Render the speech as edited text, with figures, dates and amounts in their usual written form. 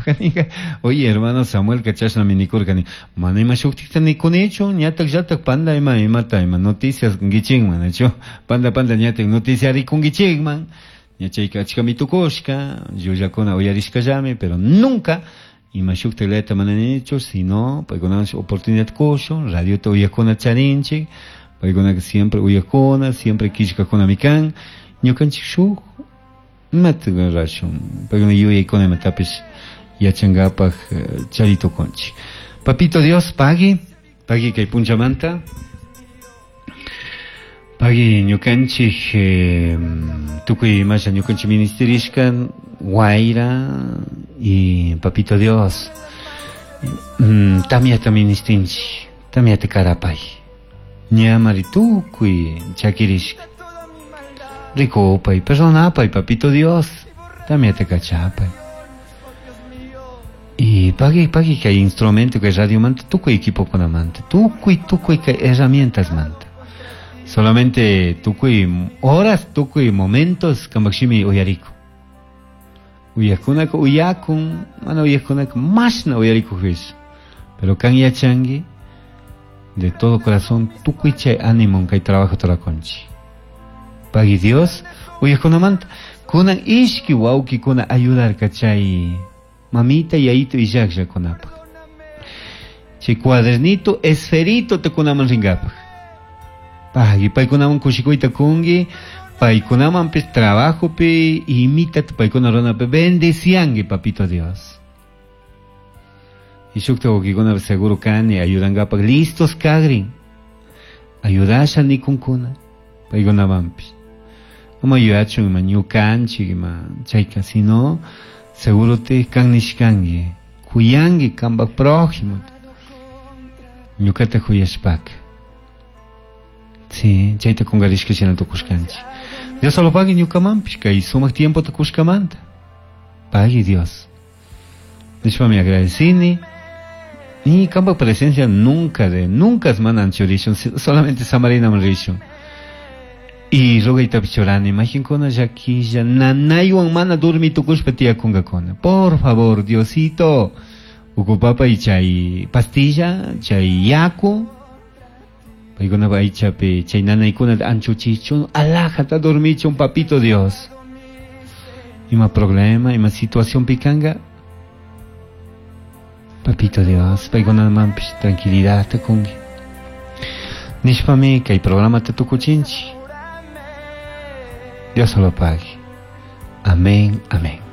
ringapaj ninga. Oye, hermano Samuelca chashnami nikurka nin. Mana ima shuktikta nikunichu, ñatak llatak panda ima imata ima noticias kunkichikman, nachu? Panda panda ñatak noticia rikunkichikman. Ña chayka achkami tukushka, llullakuna uyarishkallami, pero nunca ima shukta layata mana ninichu, sino paykunawan oportunidad kushun, radiota uyakuna charinchik, paykunaka siempre uyakuna, siempre killkakunami kan, ñukanchik shuk imata rashun, paykuna yuyaykuna imatapish yachankapak chari tukunchik. Papito Dios, pagui, pagui kay punchamanta, pagui ñukanchik tukuy imasha ñukanchik ministerishka wayra y Papito Dios, tamyata ministinchik, tamyata karapay, ñamari tukuy chakirishka, rikupay, perdonapay, Papito Dios, tamyata kachapay. Y pagui, pagui kay instrumento kay radio manta, tukuy equipokunamanta, tukuy, tukuy kay herramientas manta. Solamente tukuy horas, tukuy momentos kambak shimi uyariku. Uyakunaka uyakun, mana uyakunaka mashna uyarikujpish. Pero kan yachangi, de todo corazón, tukuy chay ánimo kay trabajo turakunchik. Pagui Dios, uyakunamanta, kunan ishki wawkikuna ayudarka chay mamita yayito illakllakunapaj. Chay cuadernito, esferito tukunaman ringapaj. Pagui, paykunaman kushikuyta kunki, paykunamanpis trabajopi, imita paykuna runapi, bendecianki, papito Dios. Y shukta wawkikuna seguro kani ayudankapaj listos kagrin. Ayudasha nikunkuna, paykunamanpis. Ama yuyachun ima ñukanchik ima chayka, sino seguro te kan nishkanki, kuyanki kanpak prójimo. Ñukata kuyashpaka. Sí, chayta kunkarishka shina tukushkanchik. Dios solo pagui ñukamanpish, kay sumak tiempo tukushkamanta. Pagui Dios. Nishpami agradecini. Y kanpak presencia nunca de, nunca es mana anchurishun, solamente samarinaman rishun. Y rogaytapish churani, majinkuna llakilla, nanaywan mana durmi tukushpa tiyakunkakuna. Por favor, Diosito, ukupapay chay pastilla, chay yaku, paykuna aychapi chay nanaykuna anchuchichun, alajata dormichun, papito Dios. Ima problema, ima situación pikanka, papito Dios, paykunamanpish tranquilidad kunki. Nishpami kay programa tukuchinchik. Dios lo pague. Amén, amén.